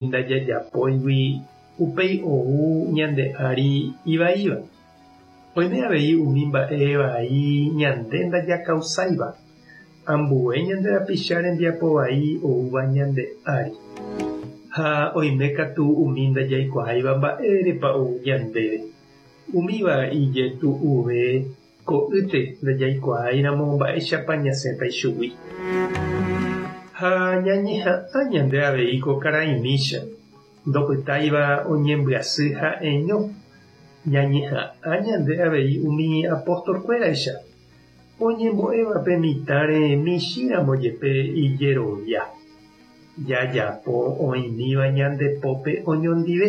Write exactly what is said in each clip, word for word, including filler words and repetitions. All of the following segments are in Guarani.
Ndajajapóigui upéi ou ñande ári ivaíva. Oime avei umi mba'e vai ñande ndajakausáiva, ambue ñande rapicha rembiapo vai oúva ñande ári. Ha oime katu umi ndajaikuaáiva mba'érepa ou ñandéve. Umíva ijetu'uve ko'ýte ndajaikuaáiramo mba'éichapa ñasẽta ichugui. Ha ñañeha'ã ñande avei ko karaimícha, ndopytáiva oñembyasy ha'eño. Ñañeha'ã ñande avei umi apostolkuéraicha, oñembo'éva pe mitãre michĩramo jepe ijerovia. Jajapo oĩmíva ñande pópe oñondive.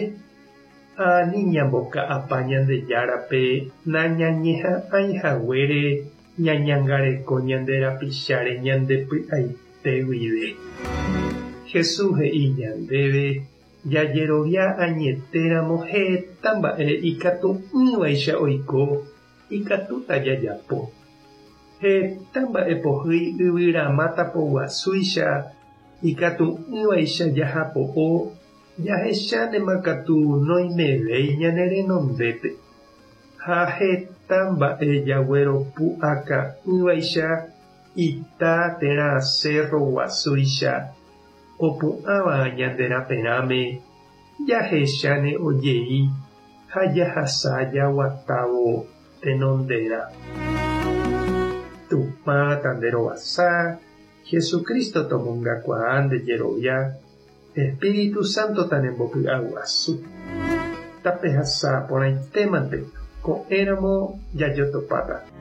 Ani ñamboka'apa Ñandejárape nañañeha'ãihaguére ñañangareko ñande rapicháre ñande py'aite guive. Jesús he'i ñandéve jajerovia añetéramo heta mba'e ikatu'ỹvaicha oiko ikatúta jajapo. Heta mba'e pohýi yvyramáta poguasúicha ikatu'ỹvaicha jahapo'o jahechánema katu noimevéi ñane renondépe. Ha heta mba'e jagueropu'aka'ỹvaicha ita térã cerro guasúicha opu'ãva ñande raperãme jahecháne ojei ha jahasa jaguatávo tenonderã. Tupã tanderovasa, Jesucristo tomongakuaa nde jerovia, Espíritu Santo tanembopy'aguasu. Tapehasa porãitémante ko'ẽramo jajotopáta.